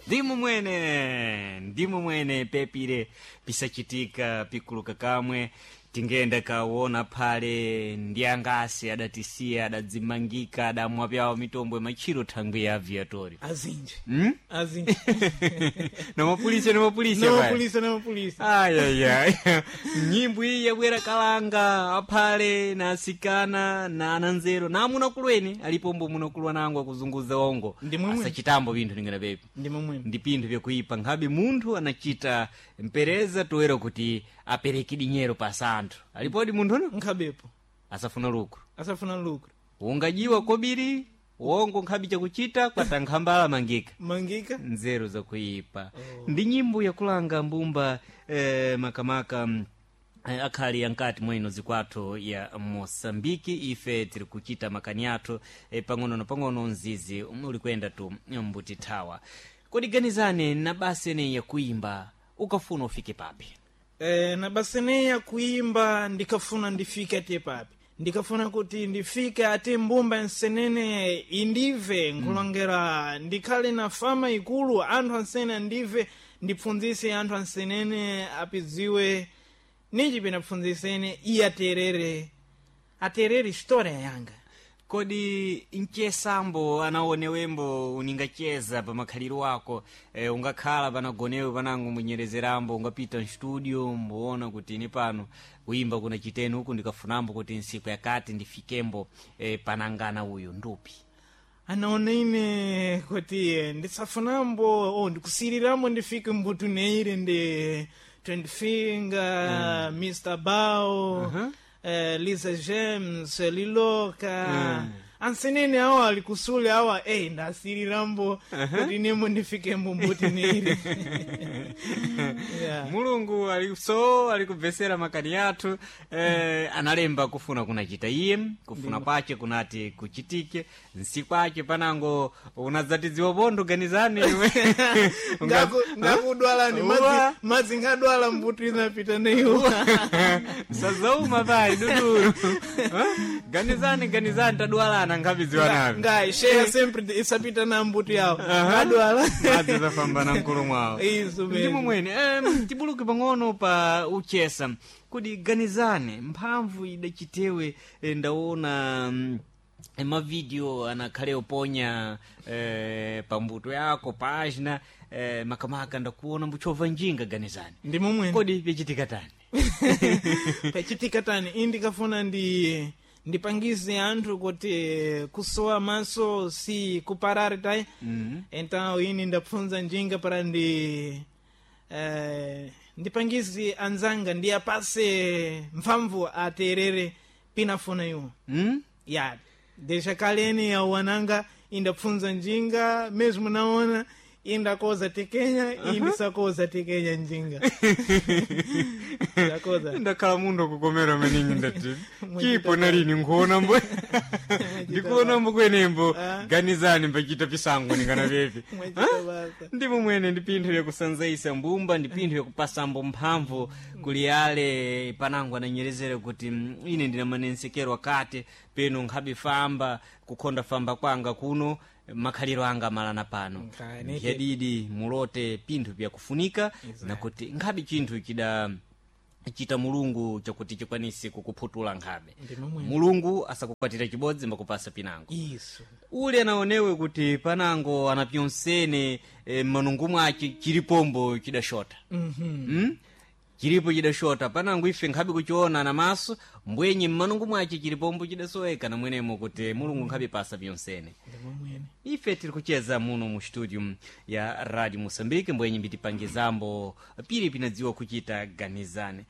Ndimu mwene, ndimu mwene pepire pisachitika pikuluka kamwe tingenda kaona phale ndi angasi adatisiya adadzimangika adamwa pyawo mitombo machiro thangwi ya aviatori Azinji. Hmm? Azinji. Namapulisa, namapulisa. Namapulisa, namapulisa. Ayaya, nyimbo iyi yabwera kalanga aphale na asikana na ananzero na amunakulweni alipombo munakulwa nango akuzunguza ongo. Ndi momwe. Asachitambo pinthu ningana pepi. Ndi momwe. Ndi pinthu vyakuipa nkhabe munthu anachita mpereza toera kuti apereke dinyero pa santhu alipodi munthuno. Nkhabepo. Asafuna lucro. Asafuna lucro. Ungajiwa kobiri wongo nkhabe chakuchita kwatankhambala mangika. Mangika. Nzeru zakuipa. Oh. Ndi nyimbo yakulanga mbumba makamaka akhali yankati mweno zikwathu ya Moçambike. Ife tiri kuchita makani athu pang'ono na pang'ono mzizi uli kuyenda tu mbutithawa. Kodi ganizane na basa ineyi yakuimba ukafuna ufike papi? Na basa ineyi yakuimba ndikafuna ndifike ate papi, ndikafuna kuti ndifike ate mbumba nsenene indive nkulongera ndikhale na fama ikulu, anthu ansene andive, ndipfundzise anthu ansenene apidziwe ninji pinapfundzisene iye aterere, aterere história yanga. Kodi mchesambo anaonewembo uningacheza pa makhaliro ako ungakhala panagonewe panango munyerezerambo ungapita mstudio mboona kuti ine pano kuimba kuna chiteni huku ndikafunambo kuti nsiku yakati ndifikembo panangana uyu ndupi? Anaona ine kuti ndisafunambo ndikusirirambo ndifike mbutu neire ndi 20 Finger, Mr Bao, Lisa James, Liloka, ansenene awa alikusule awa ndasirirambo kuti nemo ndifikembo mbuti neire, yeah. Mulungu ali so alikubvesera makani athu analemba kufuna kunachita iye kufuna kwace kunati kuchitike nsiku ace panango unadzatidziwa pontho ganizani iwe. Ngakudwalani. Uwa. Madzi ngadwala mbuti inapita neiwo. Sazauma pali dudulu. Ganizani, ganizani tadwalana nkhapidziwa navi. Ngai sheya sempre isapita na mbuti yawo ngadwala. Madzi zafambana mkulu mwawo. Isu Ndimo mesmo. mwene tibuluke pang'ono pa uchesa. Kodi ganizane mphamvu idachitewe ndaona mavideo anakhale oponya pambuto yako página makamaka ndakuona mbuchova njinga ganizani. Ndi momwene. Kodi vyachitika tani? Pachitika tani, iyi ndikafuna ndi ndipangize anthu kuti kusowa maso si kuparare tai. Então ini ndapfunza njinga para ndi ndipangize anzanga ndiyapase mphamvu aterere pinafuna iwo. Ya desha kaleni yawananga indapfunza njinga mesmo naona indakoza tekenya indisakoza tekenya njinga ndakoza. Ndakhala munthu akukomera maningi ndati chipo nalini nkuonambo ndikuonambo kwenembo. Ganizani mbachita pisango ningana pepi. Mwachita basa. Ndimo mwene ndi pinthu yakusanzaisa mbumba ndi pinthu yakupasambo mphamvu kuli ale panango ananyerezere kuti ine ndina manensekero akati peno nkhabe famba kukhonda famba kwanga kuno makhaliro anga amalana pano. Nkhani. Ndiyadidi mulote pinthu vyakufunika nakuti nkhabe chinthu chida chita Mulungu chakuti chikwanise kukuphutula nkhabe. Ndimo mwene. Mulungu asakukwatira chibodzi mbakupasa pinango. Isu. Uli anaonewe kuti panango anapyonsene manungu mwace chilipombo chidashota. Chilipo chidashota panango ife nkhabe kuchiona na maso mbwenye mmanungu mwace chilipombo chidasoweka na mwenemo kuti Mulungu nkhabe pasa pyonsene. Ndimo mwene. Ife tiri kucheza muno mu studio ya Radio Moçambique mbwenye mbitipangizambo pili pinadziwa kuchita ganizane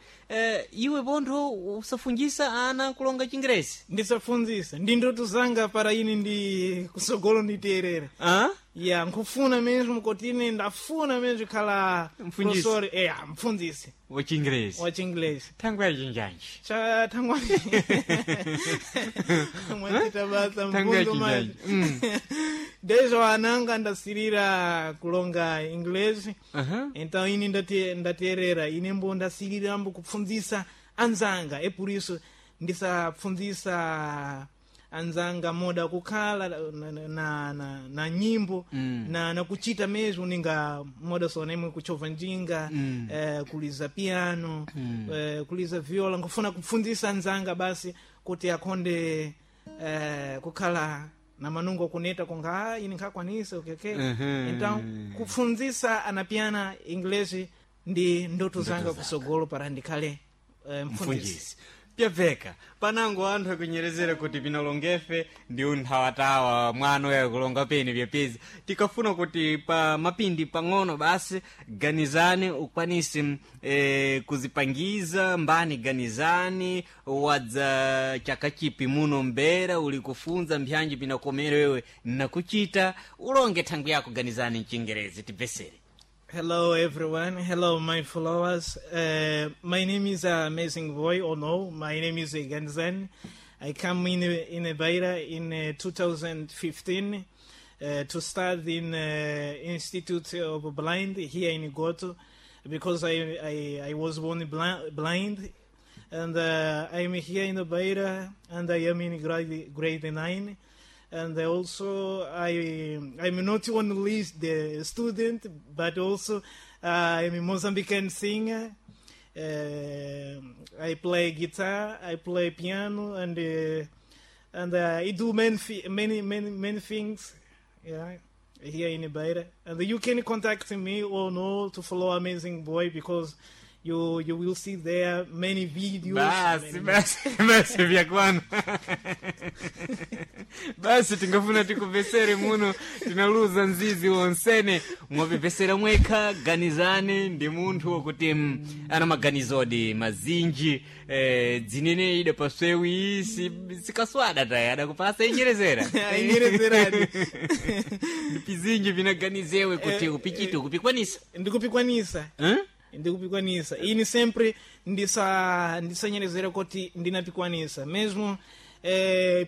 iwe pontho usafungisa ana kulonga chingerezi? Ndisafunzisa ndi ndoto zanga para ini ndi kusogolo nditerere. Ah? Ya nkufuna mesmo kuti ine ndafuna mesmo khala Mfundisi. professor, mfundisi wachingerezi wa chingelezi. Thangwe yachinjanji. Cha thangwani mwachita basa. Thangwe Mfunzo maji. yachinjanji. Desde ananga ndasirira kulonga inglês. Então ini ndaterera ine mbo ndasirirambo kupfundzisa anzanga, é por isso ndisapfundzisa. Anzanga moda kukhala na nyimbo na kuchita mesmo ninga moda sonemwe kuchova njinga, kuliza piano, kuliza viola. Nkufuna kupfundzisa anzanga basi kuti akhonde kukhala na manungo kuneta konga, "Ah, ine nkhakwanisa, okay." Então kupfundzisa anapiana inglês ndi ndoto zanga kusogolo para ndikhale mfundisi. Mfundisi pyabveka panango anthu akunyerezera kuti pinalongefe ndi unthawatawa mwana uya kulonga pene pyapezi. Tikafuna kuti pa mapindi pang'ono basi ganizani ukwanise kuzipangiza mbani. Ganizani wadza chaka chipi muno mbera uli kufunza mbyanji pinakomere wewe nakuchita ulonge thangwi yako. Ganizani mchingerezi tibvesere. Hello everyone. Hello my followers. My name is Amazing Boy or no, my name is Ganzan. I come in Beira in 2015 to start in Institute of Blind here in Goto because I was born blind and I'm here in Beira and I am in grade 9, and also I'm not only the student but also I'm a Mozambican singer. I play guitar, I play piano, and I do many many many many things. Yeah, here in Beira, and you can contact me or no to follow Amazing Boy because you will see there many videos. Basi. Many. Basi basi, vyakwana basi. Tingafuna tikupesere muno tinaluza nzizi wonsene mwapepesera mwekha. Ganizani ndi munthu wokuti ana maganizodi mazinji, dzinene ida paswewi sikaswada taya adakupasa inyerezera. Inyerezeradi. Ndipizinji vinaganizewe kuti upichite ukupikwanisa. Ndikupikwanisa. Eh? Ndikupikwanisa. Ini sempre ndisanyerezera kuti ndinapikwanisa mesmo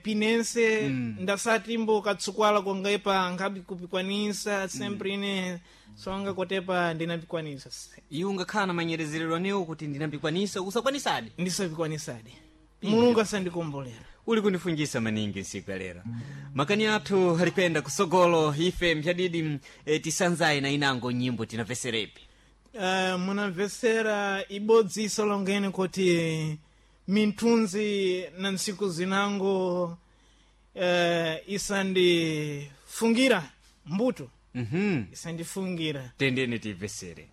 pinense ndasatimbo katsukwala kongepa nkhabi kupikwanisa sempre ine songa kotepa ndinapikwanisa. Iwe ungakhala na manyerezerero anewo kuti ndinapikwanisa usakwanisadi. Ndisapikwanisadi, Mulungu asandikombolera. Uli kundifunjisa maningi nsiku ya lero. Makani athu alipenda kusogolo ife mphadidi tisanzaye na inango nyimbo tinamveserepi. Munamvesera ibodzi isolongeni kuti minthunzi na ntsiku zinango isandifungira mbuto. Isandifungira. Tendeni tiyimvesere.